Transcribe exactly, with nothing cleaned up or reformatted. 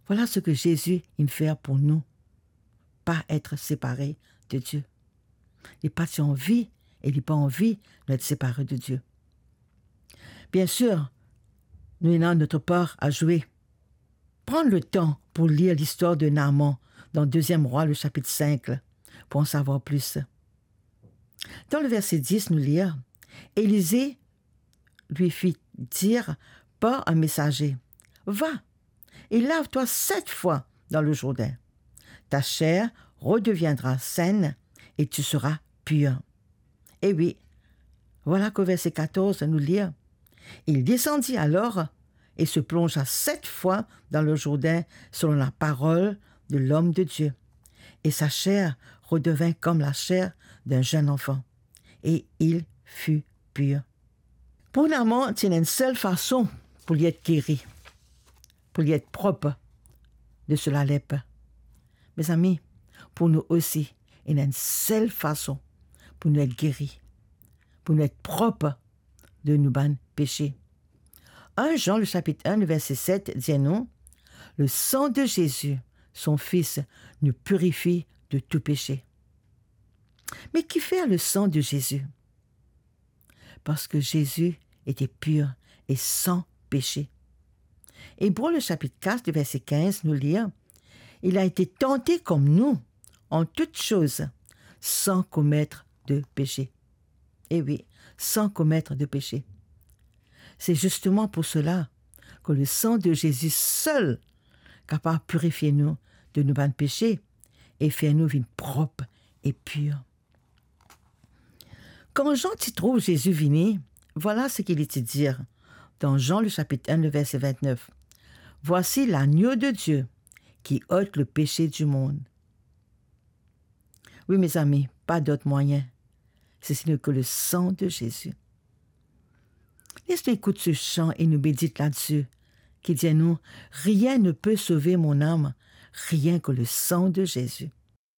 Vwala seki Zezi inn fer pou nou, pa et separe de Die. Li pa ti anvi e li pa anvi nou et separe de Die. Biensir, nou ena nou par a zwe. Pran letan pou lir listwar de Naaman dan Deziem Rwa, le sapit sink, pou an savwar plis. Dan le verse dis, nou lir, Elize li fi dir par enn mesaze, "Va et lave-toi sept fois dans le Jourdain. Ta chair redeviendra saine et tu seras pur." E wi, vwala ki verse katorz nou lir, Il descendit alors et se plongea sept fois dans le Jourdain selon la parole de l'homme de Dieu. Et sa chair redevint comme la chair d'un jeune enfant. Et il fut pur. Pou Naaman, ti ena enn sel fason pou li et geri, pou li et prop de so lalep. Mezami, pou nou osi, ena enn sel fason pou nou et geri, pou nou et prop de nou bann pese. Enn Zan, le sapit enn, le verse set, dir nou, "Le sang de Jésus, son Fils, nous purifie de tout péché." Me kifer le sang de Jésus? Parski Zezi ete pir e san pese. Ebre, le sapit kat, le verse kinz, nou lir, "Il a été tenté comme nous en toutes choses, sans commettre de péché." E wi, san komet de pese. Se zisteman pou sela ki le san de Zezi sel kapav pirifie nou de nou bann pese e fer nou vinn prop e pir. Kan Zan ti trouv Zezi vini, vwala seki li ti dir dan Zan, le sapit enn, le verse vintnef, "Voici l'agneau de Dieu qui ôte le péché du monde." Wi, mezami, pa dot mwayin, si se n'est que le sang de Jésus. Les nou ekout se san e nou medit ladsi, ki dir nou, "Rien ne peut sauver mon âme, rien que le sang de Jésus."